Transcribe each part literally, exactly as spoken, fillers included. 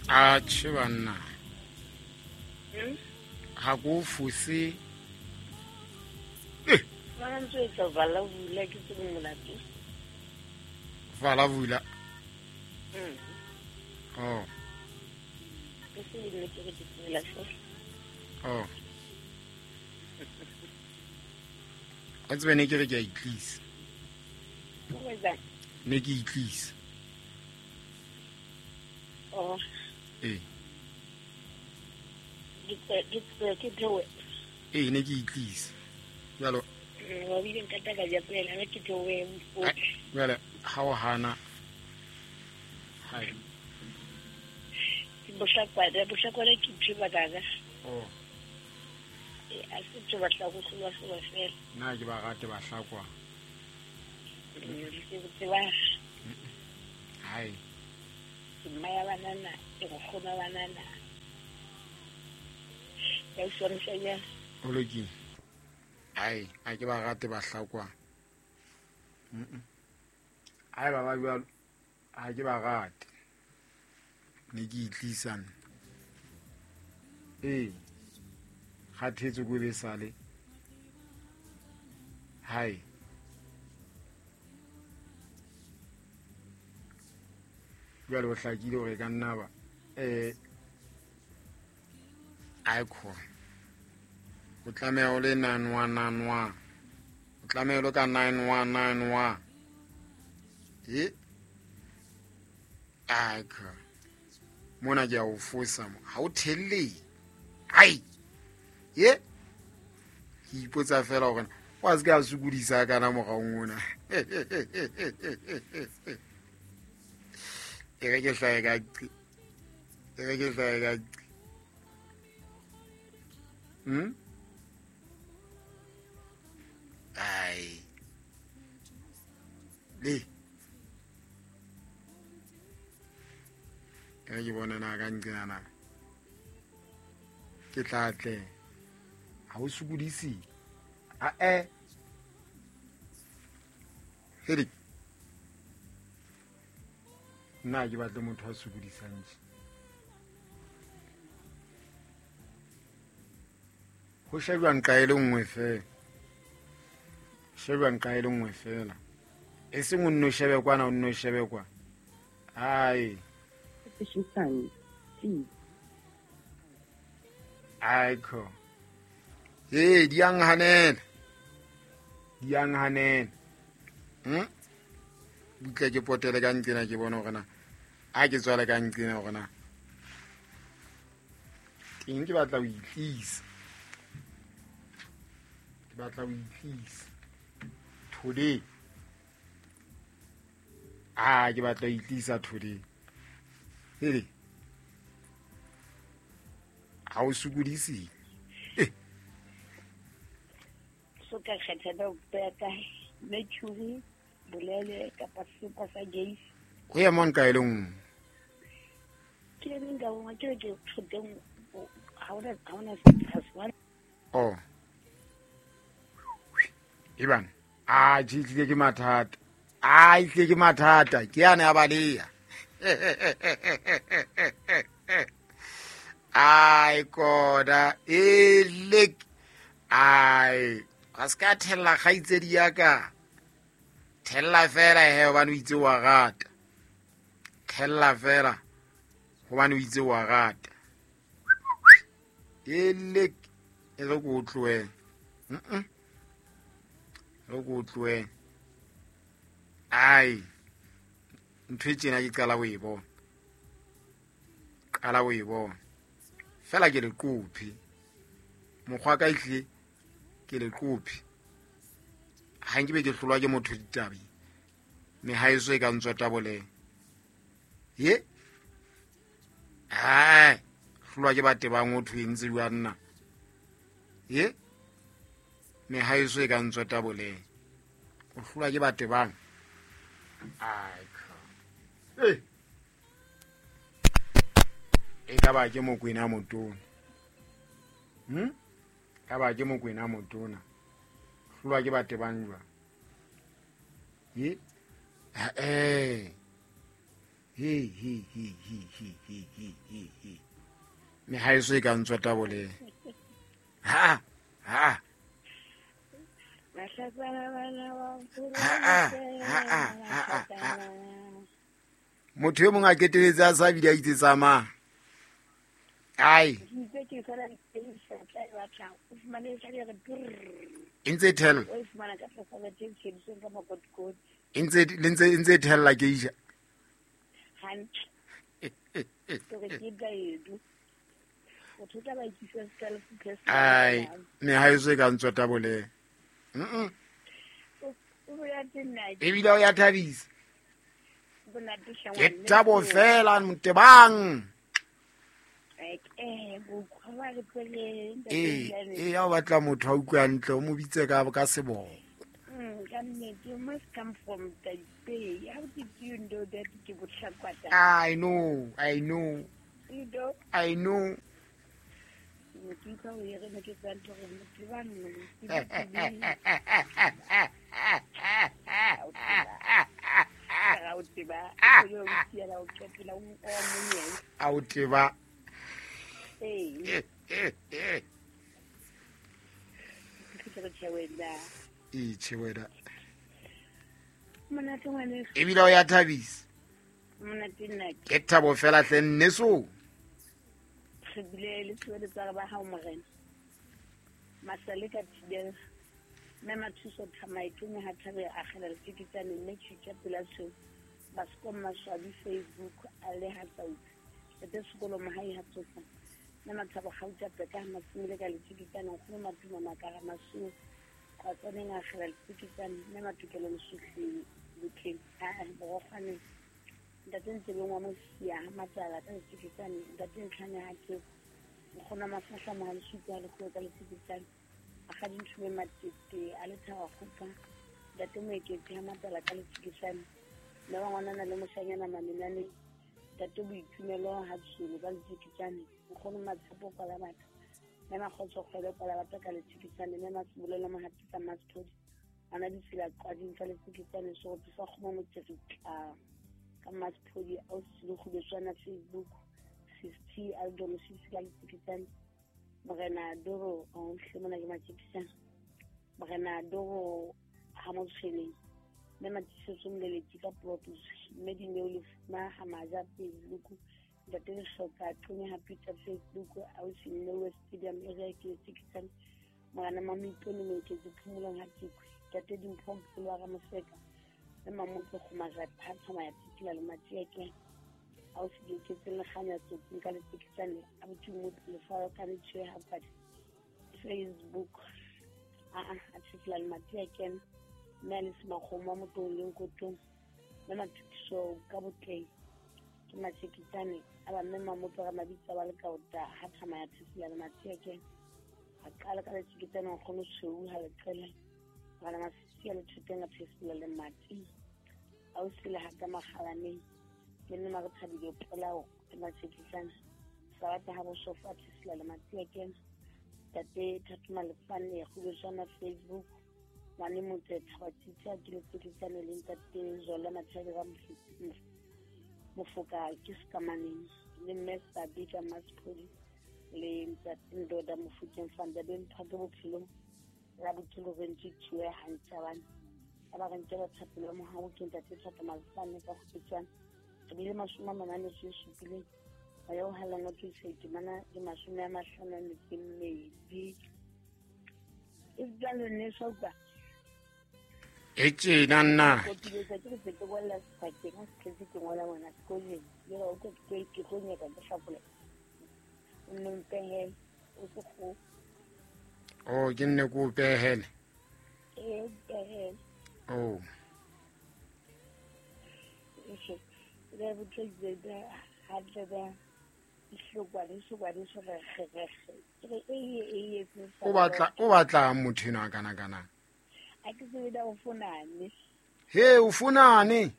A tjhe banna. Ha ko fose. Eh. Ba ntse etsa vala bula ke tsebe molato. Vala bula. Mm. Oh. Ke se ne ke re tsela fela. Oh. A tsebe ne ke re ke a itlisa. O etsang? Ne ke itlisa. Oh. Eh. Ke ke ke thewe. Eh ne ke itlisa. Jalo. Wa bile nka taka ja pela ne ke thewe. Jale ha o hana. Hai. Ke bohlakwa, bohlakwa ke ntho ba ka. Oh. Eh a se tlo batla go hlolwa hlolwa fela. Nna ke ba rate ba hlakwa. Ke tseba. Hai. Ke mma ya banana, ke nkgono wa banana. Ya utlwa ya. O lokile. Hai, a ke ba rate ba hlakwa. Mm. Hai ba ba jwalo. Ha ke ba rate. Ne ke itlisa. Eh. Kgathetse ko be sale. Hai. Jwale o hlakile hore ka nna ba eh aikho. O tlameha o le nine one nine one. O tlameha o ka nine one nine one. Eh? Aikho. Mona ke a o fosa mo. Ha o thelle. Ai. Ye? Ke ipotsa fela hore wa se ka sokodisa kana moraong ona. E re ke hlae ka qi. E re ke hlae ka qi. Hmm? Ai. Le. E re ke bona na ka nqena na. Ke tla tle. Ha o sokodise. A e. Hedi. Nna ke batle motho a sokodisang tje. Ho shebjwa nqa e le nngwe fela. Shebjwa nqa e le nngwe fela. E seng o nno shebe kwana o nno shebe kwa. Ai. Aiko. Eh, di yang hanela. Di yang hanela. Hm? Butle ke potele ka nqena ke bona hore na a ke tswale ka nqena hore na teng ke batla ho itlisa. Ke batla ho itlisa. Today. Ah, ke batla ho itlisa today. Hele. Ha o sokodise. Eh. So ka kgetha ba ka mercury bolele kapa sepa sa gase. Ho ya mon ka e le nngwe. Ke reng ka bona ke ke thoteng ha ona ha ona se. Oh. Iban. Ah, tlile ke mathata. Ah, tlile ke mathata. Ke yana ya baleya. Ai koda elek. Ai, ga se ka thella kgaitsedi ya ka. Thella fela he hobane o itse wa rata. Thella fela hobane o itse wa rata. Elek e re ko tlohele. Mm. Re ko tlohele. Ai. Ntho e tjena ke qala ho e bona. Qala ho e bona. Fela ke le qophi. Mokgwa ka ihle ke le qophi. Ha nke be ke hlolwa ke motho ditabi. Me ha eso e ka ntswa taboleng. Ye? Ai, hlolwa ke bate ba ngotho e ntse jwa nna. Ye? Me ha eso e ka ntswa taboleng. O hlolwa ke bate bang. Ai. Eh. E ka ba ke Mokwena motona. Hm? Ka ba ke Mokwena motona. Hlolwa ke bate bang jwa. Ye? Eh. He he he he he he he he he. Me ha eso e ka ntswa taboleng. Ha ha. Ha ha ha ha. Motho e mong a keteletse a sa bile a itse tsamaya. Ai. E ntse thella. E ntse le ntse e ntse thella ke ija. Ai, me ha eso e ka ntswa taboleng. Mm. Ebile o ya thabisa. Ke thabo fela motebang. Eh, eh ya o batla motho a utlwa hantle o mo bitse ka ka seboko. Mm, ka nnete, you must come from Taipei. How did you know that ke bohlakwa? I know, I know. You know? I know. Auteba. Ee. Itjhe wena. Ebile o ya thabisa. Ke thabo fela hle nneso. Re bile le tswele ba hao morena. Masale ka thibela. Mme Mathuso Thamaetong ha thabe a akgela letsikitsane mme tjhutja pela tshweu. Baskom Maswabi Facebook a le ha tsautse. Ete sekolo mahai ha tsosa. Mme Mathabo Gauta Peka ha masimile ka letsikitsane nkgono Matuma Makara Masuo. Qatsaneng a akgela letsikitsane mme Matukelo Lesuhle Botleng a Borokgwaneng. Ntate Ntsebeng wa Mosia ha Matsala ka letsikitsane ntate Ntlhane ha ke nkgono Mafahla Mohalisuku ha lekgolo ka letsikitsane. Akgadi Nthume Matete a le thaba kgopa ntate Moeketsi ha Matsala ka letsikitsane mme wa ngwanana le moshanyana Mamenane ntate Boitumelo ha Tsholo ka letsikitsane nkgono Matshepo kwa batho mme Makgotso Kgwele kwa batho ka letsikitsane mme Masebolelo Mohatisa Masithodi ana ditsela qading ka letsikitsane seroto sa kgomo motseritla ka Masithodi a o silogubetswana Facebook sixty Aldo Mosisi ka letsikitsane Morena Doro o hle mona ke matjekisana Morena Doro ha motshweneng mme Matisetso Moleletsi ka Plotos mme Dineo Lefuma ha Maja Facebook ntate Lehloka Qonye ha Peter Facebook ausi Nnewe Stadium area ke letsikitsane Morena Mamoipone Moeketsi Phomolong ha Tikwe ntate Dimpho Mpolo wa Ramoseka mme Mamotse Kgomarata ha Tsamaya Tsikila le Matieke ausi Diketse Lekganya Tsotsing ka letsikitsane abuti Motho Lefao ka Letshwe ha Padi Facebook a a a tshifla le Matieke mme a le Semakgomo wa Motong le Nkotong mme Mathukiso ka Botleng ke matjekitsane a ba mme Mamotse ga Mabitsa ba le kaota ha Tsamaya Tshifla le Matieke a qala ka letsikitsane nkgono Tshweu ha leqele bana Masisi a le thoteng a tshifla le Mati ausi le ha ka Makgalaneng le nna re thabile polao ke matjekitsane Sabata ha bosofa tshifla le Matieke ntate Thato Malefane kgubetswana Facebook ngwane Motse Thabatsitsi ke letsikitsane le ntate Zola Mathabi ga Mofoka ke Sekamaneng le mme Sabi ka Masphodi le ntate Ndoda Mofokeng Fandabeng Phake bophelong la botshelo re ntse tshwe hantsabane ba ba re ntse ba thapelo mohau ke ntate Thato Malefane ka kgubetswana re bile mashome a mane a metso e supileng moya o halang o thusa itemana le mashome a mahlano a metso e mmedi e jalo nneso utlwa E tjena nna. Ke ke ke se ke ngola sebakeng ha se tletse ke ngola ngwana sekolong le o ke ke ke tlo nyaka ke hlakola o nne mpehele o se go Oh, ke nne ko pehele. Ee mpehele. Oh. Le botse da ha tle ba ihlokwa le sokwa le so re re re e e e O batla o batla motho ena kana kana. A ke tsebe da o fonane. He o fonane.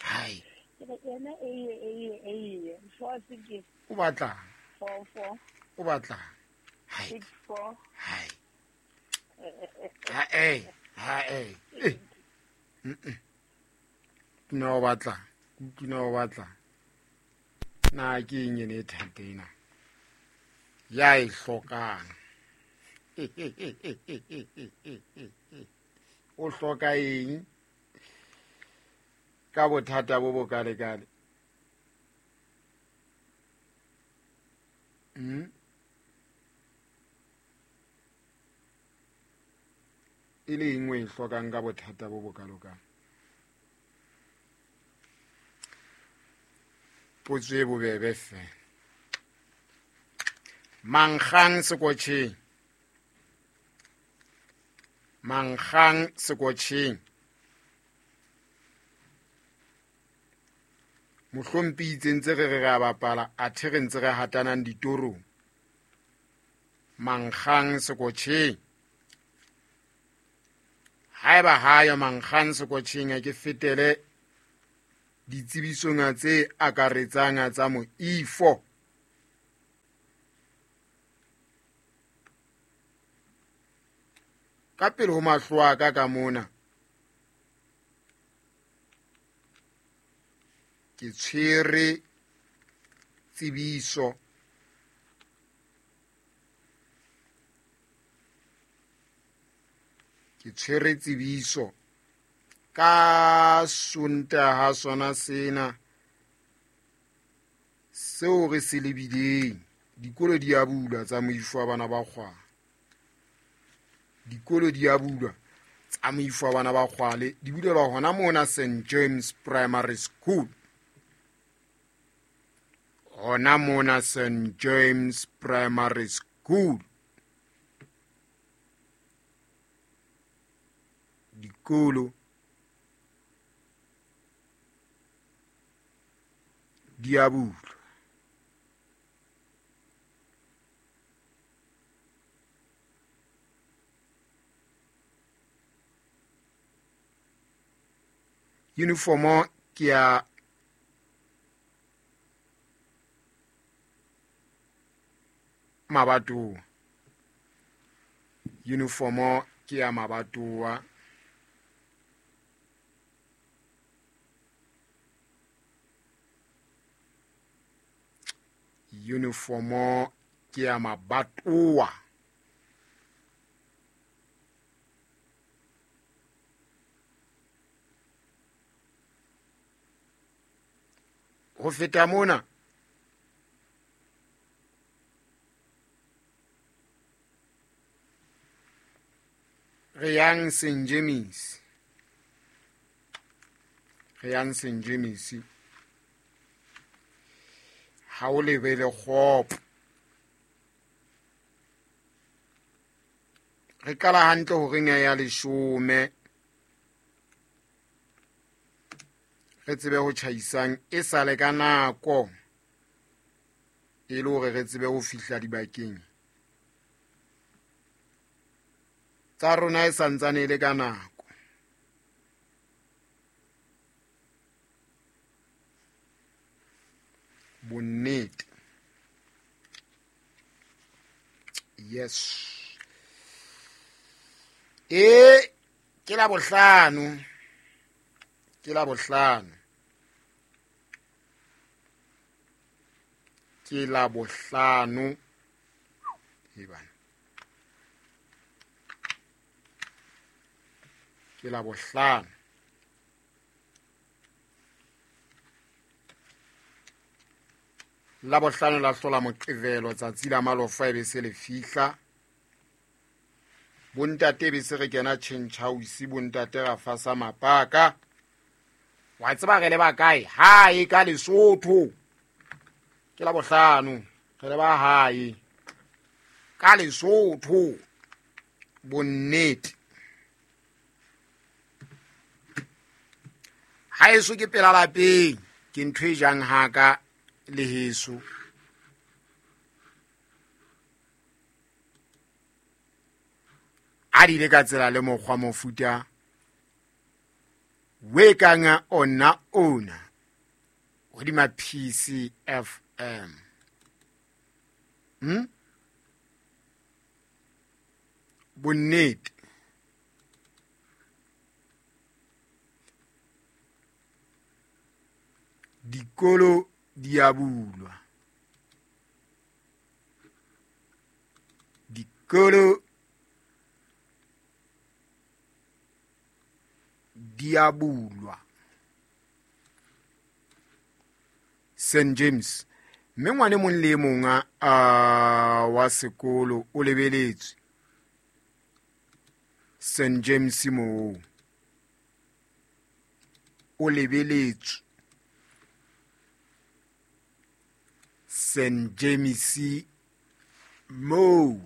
Hai. Ke yena e e e e four six. O batla. Four four. O batla. Hai. Six four. Hai. Ha eh ha eh. Mm. No batla. Kutlwina o batla na ke eng ene e thata ena ya e hlokang. O hloka eng ka bothata bo bokalekale? Mm? E le eng o e hlokang ka bothata bo bokalokalo? Potso e bobebe fela. Mankgang sekotjheng. Mankgang sekotjheng. Mohlompi itse ntse re re re a bapala, athe re ntse re hatanang ditorong. Mankgang sekotjheng. Haeba hayo mankgang sekotjheng, a ke fetele ditsebisong tse akaretsang tsa moifo. Ka pele ho mahlo a ka ka mona ke tshwere tsebiso ke tshwere tsebiso ka Sontaha sona sena seo re se lebileng. Dikolo di a bulwa tsa moifo wa bana ba kgwale. Dikolo di a bulwa tsa moifo wa bana ba kgwale, di bulelwa hona mona Saint James Primary School. Hona mona Saint James Primary School. Dikolo di a bulwa. Uniformo ke ya mabatowa. Uniformo ke ya mabatowa. Uniformo ke ya mabatowa. Ho feta mona re yang Saint James. Re yang Saint James. Ha o lebele kgopo. Re qala hantle horeng ya leshome. Re tsebe ho tjhaisang e sale ka nako e le hore re tsebe ho fihla dibakeng tsa rona e santsane e le ka nako. Bonnete. Yes. E ke la bohlano. Ke la bohlano. Ke la bohlano. E bana. Ke la bohlano. La bohlano la hlola Moqebelo tsatsi la malofa e be se le fihla. Bontate be se re kena change house, bontate ra fasa mapaka. Wa tseba re le ba kae? Hae ka Lesotho. Ke la bohlano re le ba hae ka Lesotho. Bonnete. Haeso ke pela lapeng, ke ntho e jang haka le heso. A di le ka tsela le mokgwa mofuta we kanga ona ona hodima P C F M. Hmm? Bonnete. Dikolo di a bulwa. Dikolo di a bulwa. Saint James, mme ngwane mong le mong a wa sekolo o lebeletswe Saint James moo, o lebeletswe Saint James moo.